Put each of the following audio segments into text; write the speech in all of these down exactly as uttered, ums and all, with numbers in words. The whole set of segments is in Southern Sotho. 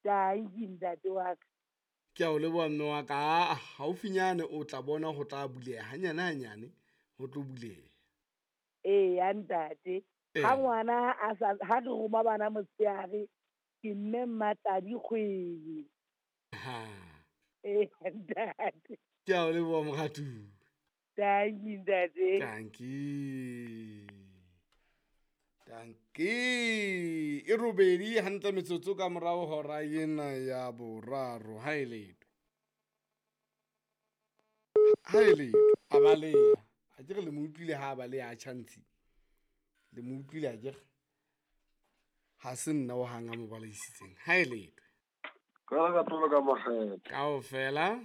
Tanki ntate wa ka. Ke a o leboha mme wa ka. Haufinyane o tla bona ho tla buleha hanyane hanyane ho tlo buleha. Eya ntate. Ha ngwana a sa ha re roma bana motshehare ke mme Mmatladi Kgwele. Ha. Eya ntate. Ke a o leboha moratuwa. Tanki ntate. Tanki. Tanki. E robedi hantle metsotso ka morao hora ena ya boraro. Ha e letho. Ha e letho. A baleha. A ke re le mo utlwile ha a baleha a tjhantshi. Le mo utlwile a ke re. Ha se nna o hang a mo balehisitseng. Ha e letho. Ka la ka tlola ka makgethe. Kaofela.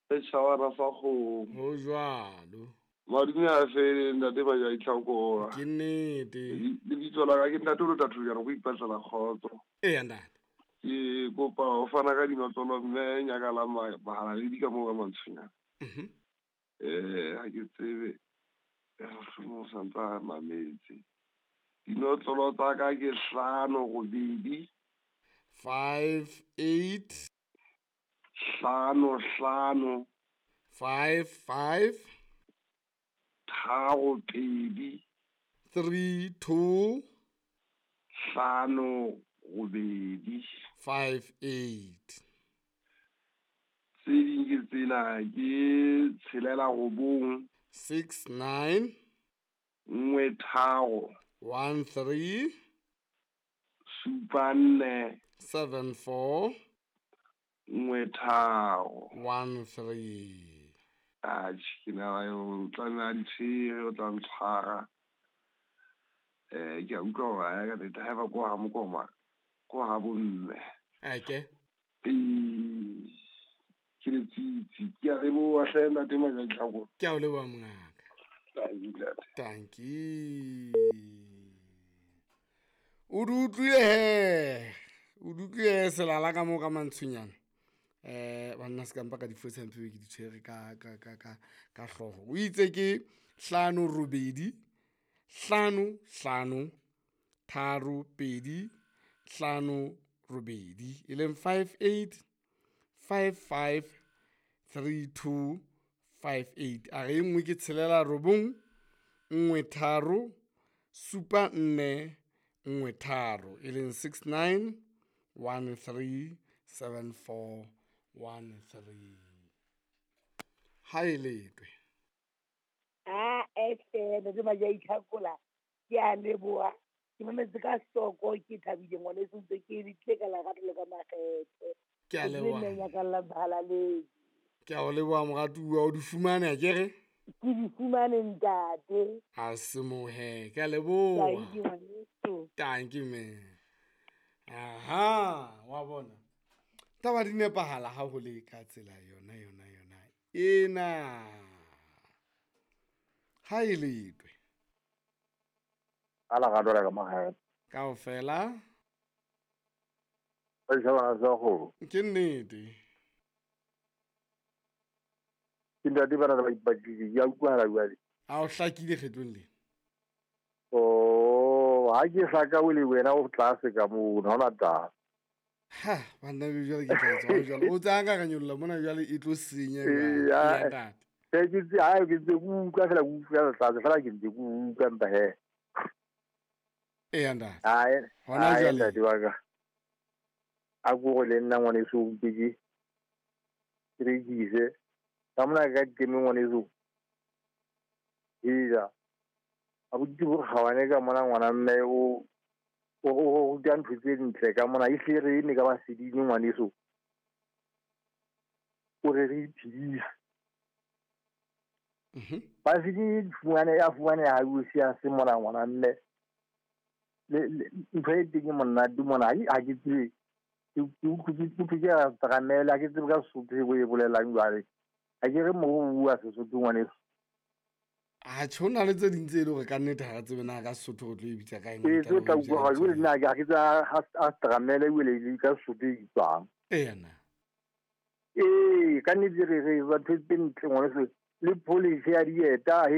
Setjhaba sa kgomo. Ho jwalo. Madume a fele ntate ba ya itlhakola. Ke nnete. Lebitso la ka ke ntate o tla go ipatlela kgotso. Eya ntate. Ke kopa ho fana ka dinotlolo mme nyaka la bahalaledi ka moo ka mantshonyana. Mhm. Eh ha ke tsebe mohlomong o santsa mametse. Dinotlolo tsa ka ke hlano robedi. Five eight. Hlano hlano. Five five. Tharo pedi. Three two. Hlano robedi. Five eight. Tse ding ke tsena ke tshelela robong. Six nine. Nngwe tharo. One three. Supa nne. Seven four. Nngwe tharo. One three. Atjhe, ke na o tlameha ditshwere, o tla ntshwara. Eh ke a utlwa hore ha ka nnete haeba ko ha mokoma ko ha bomme. Ake. Ee, ke letsitsi. Ke a leboha hle ntate Majatlhako. Ke a o leboha mongaka. Tanki. Tanki. O di utlwile he. O di utlwile selala ka moo ka mantshonyana. Eh banna se ka mpa ka difosa mphe ke di tshwere ka ka ka ka ka hlooho. O itse ke hlano robedi hlano hlano tharo pedi hlano robedi e leng five eight five five three two five eight. A re e nngwe ke tshelela robong nngwe tharo supa nne nngwe tharo e leng six nine one three seven four one three. Ha e letwe. Ah, ehle ntate Majatlhakola ke a leboha. Ke mametse ka hloko ke thabile ngwaneso ntse ke le tlile ka lerato le ka makgethe. Ke a leboha. Ke nyaka la bahalaledi. Ke a o leboha moratuwa, o di fumane akere? Ke di fumane ntate. A se mohe, ke a leboha. Tanki ngwaneso. Tanki mme. Aha, wa bona. Taba di nepahala ha ho le ka tsela yona yona yona ena. Ha e letwe. Ala ga dora ka mahae. Kaofela. Setjhaba sa kgomo. Ke nnete. Ke ntate bana ba ipatlile, ke a utlwahala jwale. A o hlakile kgetlong le. Oh, ha ke hlaka o le wena o tlase ka moo, ha hona taba. Ha, banna be jwale ke tla tswa jwale. O tsaya ka nyolla mona jwale e tlo senya jwale. Ee, ntate. Ke ke tse ha ke tse ku utlwa fela ku utlwa tlase fela ke ntse ku utlwa mpa he. Ee, ntate. Ae, Hona ae, jwale. ntate wa ka. A ko go le nna ngwaneso o mpe ke ke rekise. Ka mona ka ke teme ngwaneso. Eja. A botse bo gawane ka mona ngwana mme o o o ruta ntho tse ntle ka mona e hle re eme ka baseding ngwaneso. O re re iphedise. Mhm. Baseding fumane ya fumane ha o sia se mona ngwana mme. Le ntho e teng monate mona ha ke tsebe. Ke ke ke ke ke tramela ke tsebe ka Sesotho e bo e bolelang jwale. Ha ke re mo o bua Sesotho ngwaneso. A tjho na le tse ding tse e le hore ka nnete ha re tsebe na ka Sesotho re tlo e bitsa ka eng. Ee, tse tla utlwa hore jwale nna ha ke tsa a tramela ebile le ka Sesotho e bitswang. Eya na. Ee, ka nnete re re batho tse ntle ngwaneso le polish ya dieta.